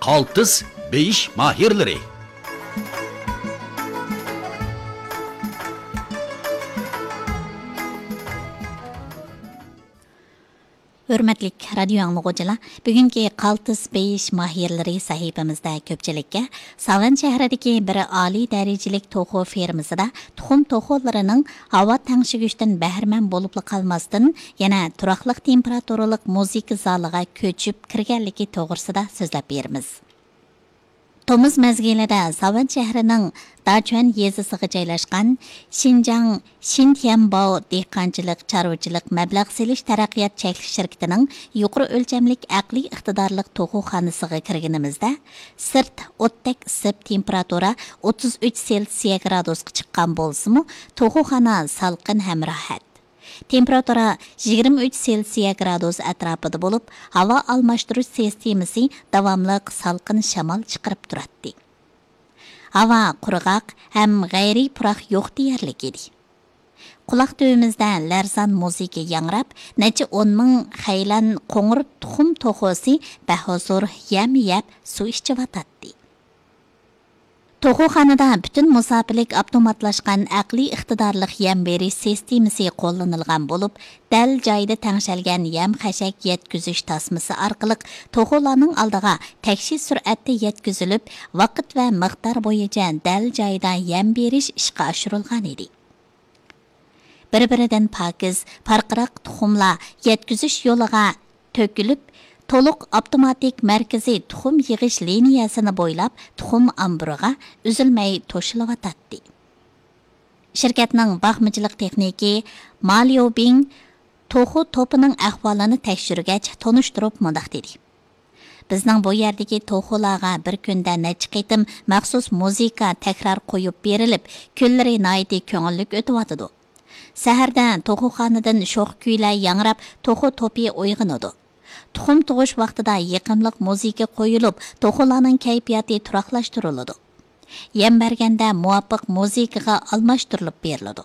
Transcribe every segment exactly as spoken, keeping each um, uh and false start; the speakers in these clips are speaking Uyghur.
قالتىس بېيىش ماھىرلىرى. ھۆرمەتلىك رادىيو ئاڭلىغۇچىلار، بۈگۈنكى قالتىس بېيىش ماھىرلىرى سەھىپىمىزدە كۆپچىلىككە ساۋان شەھىرىدىكى بىر ئالىي دەرىجىلىك توخۇ فېرمىسىدا تۇخۇم توخۇلىرىنىڭ ھاۋا تەڭشىگۈچتىن بەھرىمەن بولۇپلا قالماستىن، يەنە تۇراقلىق تېمپېراتۇرىلىق مۇزىكا زالىغا كۆچۈپ كىرگەنلىكى توغرىسىدا سۆزلەپ بېرىمىز. تومۇز مەزگىلىدە ساۋان شەھىرىنىڭ داچۈەن يېزىسىغا جايلاشقان شىنجاڭ شىنتيەنباۋ دېھقانچىلىق، چارۋىچىلىق مەبلەغ سېلىش تەرەققىيات چەكلىك شىركىتىنىڭ يۇقىرى ئۆلچەملىك ئەقلىي ئىقتىدارلىق توخۇخانىسىغا كىرگىنىمىزدە، سىرت ئوتتەك ئىسسىپ، تېمپېراتۇرا ئوتتۇز ئۈچ سېلسىيە گرادۇسقا چىققان بولسىمۇ، توخۇخانا سالقىن ھەم راھەت. تېمپېراتۇرا يىگىرمە ئۈچ سېلسىيە گرادۇس ئەتراپىدا بولۇپ، ھاۋا ئالماشتۇرۇش سىستېمىسى داۋاملىق سالقىن شامال چىقىرىپ تۇراتتى. ھاۋا قۇرغاق ھەم غەيرىي پۇراق يوق دېيەرلىك ئىدى. قۇلاق تۈۋىمىزدە لەرزان مۇزىكا ياڭراپ، نەچچە ئون مىڭ خەيلەن قوڭۇر تۇخۇم توخۇسى بەھۇزۇر يەم يەپ، سۇ ئىچىۋاتاتتى. توخۇخانىدا پۈتۈن مۇساپىلىك ئاپتوماتلاشقان ئەقلىي ئىقتىدارلىق يەم بېرىش سىستېمىسى قوللىنىلغان بولۇپ، دەل جايىدا تەڭشەلگەن يەم خەشەك يەتكۈزۈش تاسمىسى ئارقىلىق توخۇلارنىڭ ئالدىغا تەكشى سۈرئەتتە يەتكۈزۈلۈپ، ۋاقىت ۋە مىقدار بويىچە دەل جايىدا يەم بېرىش ئىشقا ئاشۇرۇلغان ئىدى. بىر-بىرىدىن پاكىز، پارقىراق تۇخۇملار يەتكۈزۈش يولىغا تۆكۈلۈپ، تولۇق ئاپتوماتىك مەركىزىي تۇخۇم يىغىش لىنىيەسىنى بويلاپ، تۇخۇم ئامبىرىغا ئۈزۈلمەي توشۇلۇۋاتاتتى. شىركەتنىڭ باقمىچىلىق تېخنىكى ما ليۇبىڭ توخۇ توپىنىڭ ئەھۋالىنى تەكشۈرگەچ، تونۇشتۇرۇپ مۇنداق دېدى: بىزنىڭ بۇ يەردىكى توخۇلارغا بىر كۈندە نەچچە قېتىم مەخسۇس مۇزىكا تەكرار قويۇپ بېرىلىپ، كۈنلىرى ناھايىتى كۆڭۈللۈك ئۆتۈۋاتىدۇ. سەھەردە توخۇخانىدىن شوخ كۈيلەر ياڭراپ، توخۇ توپى ئويغىنىدۇ. تۇخۇم تۇغۇش ۋاقتىدا يېقىملىق مۇزىكا قويۇلۇپ، توخۇلارنىڭ كەيپىياتى تۇراقلاشتۇرۇلىدۇ. يەم بەرگەندە مۇۋاپىق مۇزىكىغا ئالماشتۇرۇلۇپ بېرىلىدۇ.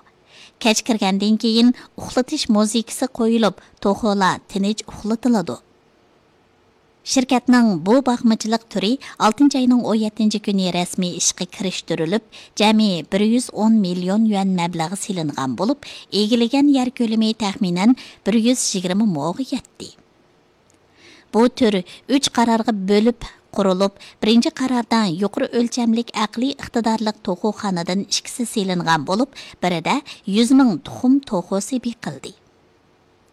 كەچ كىرگەندىن كېيىن ئۇخلىتىش مۇزىكىسى قويۇلۇپ، توخۇلار تىنچ ئۇخلىتىلىدۇ. شىركەتنىڭ بۇ باقمىچىلىق تۈرى ئالتىنچى ئاينىڭ ئون يەتتىنچى كۈنى رەسمىي ئىشقا كىرىشتۈرۈلۈپ، جەمئىي بىر يۈز ئون مىليون يۈەن مەبلەغ سېلىنغان بولۇپ، ئىگىلىگەن يەر كۆلىمى تەخمىنەن بىر يۈز يىگىرمە موغا يەتتى. بۇ تۈر ئۈچ قارارغا بۆلۈپ قۇرۇلۇپ، بىرىنچى قاراردا يۇقىرى ئۆلچەملىك ئەقلىي ئىقتىدارلىق توخۇخانىدىن ئىككىسى سېلىنغان بولۇپ، بىرىدە يۈز مىڭ تۇخۇم توخۇسى بېقىلدى.